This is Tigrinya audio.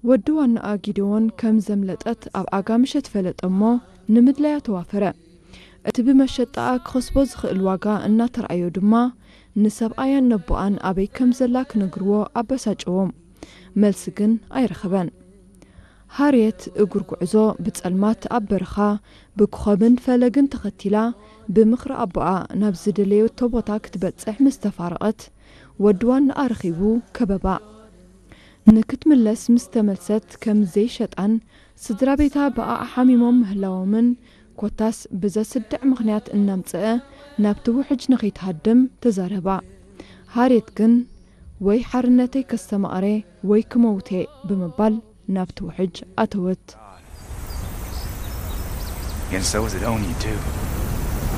ወዲ ዋናኣ ጊደዎን ከም ዘምለጠት ኣብ ኣጋ ምሸት ፈለጠ እሞ ንምድላያ ተዋፈረ። እቲ ብመሸጣኣ ክኸስቦ ዝኽእል ዋጋ እናተረኣዮ ድማ ንሰብኣያን ነቦኣን ኣበይ ከም ዘላ ክነግርዎ ኣበሳጨዎም። መልሲ ግን ኣይረኸበን። ሃርየት እግር ጉዕዞ ብጸልማት ኣብ በረኻ ብኮኸብን ፈለግን ተኸቲላ ብምኽሪ ኣቦኣ ናብ ዝደለየቶ ቦታ ክትበጽሕ ምስ ተፋረቐት ወዲ ዋናኣ ረኺቡ ከበባ። ንክትምለስ ምስ ተመልሰት ከም ዘይሸጣን ስድራ ቤታ ብኣኣ ሓሚሞም ምህላዎምን ኮታስ ብዘስድዕ ምኽንያት እናምጽአ ናብቲ ውሕጅ ንኸይትሃድም ተዛረባ። ሃርየት ግን ወይ ሓርነተይ ከስተማቕረ ወይ ክመውት እየ ብምባል ናብቲ ውሕጅ ኣተወት። And so is it only you do.